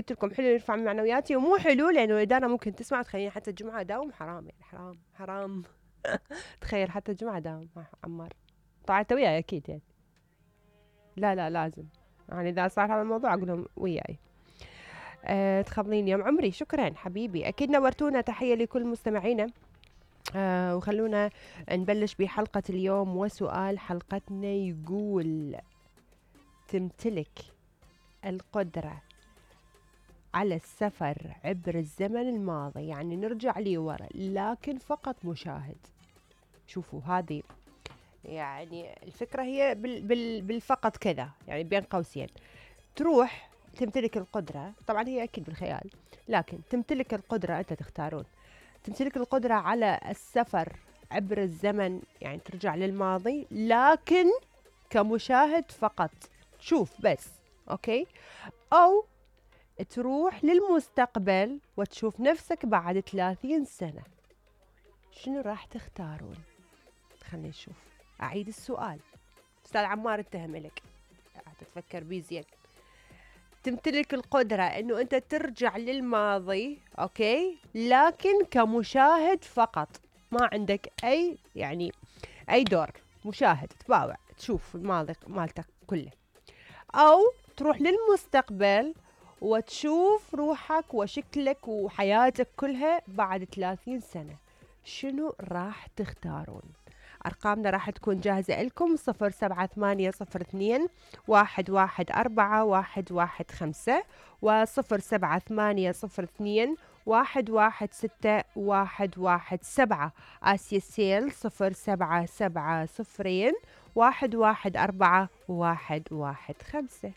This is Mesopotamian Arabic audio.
قلت لكم حلو يرفع من معنوياتي، ومو حلو لانه الاداره ممكن تسمع تخليني حتى الجمعه اداوم. حرام يعني، حرام حرام. تخيل حتى الجمعه اداوم عمار. طبعا انت وياي اكيد يعني. لا لازم يعني اذا صار هذا الموضوع اقول لهم وياي. تخبلين يوم عمري. شكرا حبيبي، اكيد نورتونا. تحيه لكل مستمعينا. وخلونا نبلش بحلقة اليوم، وسؤال حلقتنا يقول: تمتلك القدرة على السفر عبر الزمن الماضي، يعني نرجع لي ورا لكن فقط مشاهد. شوفوا هذه يعني الفكرة هي بالفقط كذا، يعني بين قوسين. تروح تمتلك القدرة، طبعا هي أكيد بالخيال، لكن تمتلك القدرة، أنت تختارون، تمتلك القدرة على السفر عبر الزمن، يعني ترجع للماضي لكن كمشاهد فقط، تشوف بس، أوكي؟ أو تروح للمستقبل وتشوف نفسك بعد 30 سنة. شنو راح تختارون؟ خلينا نشوف. أعيد السؤال، أستاذ عمار اتهم لك، تتفكر بيه زين. تمتلك القدرة انه انت ترجع للماضي، اوكي، لكن كمشاهد فقط، ما عندك اي يعني اي دور، مشاهد تباوع تشوف الماضي مالتك كله. او تروح للمستقبل وتشوف روحك وشكلك وحياتك كلها بعد 30 سنة. شنو راح تختارون؟ أرقامنا راح تكون جاهزة لكم: 07802 114 115 و07802 116117. آسيا السيل 0770 114 115.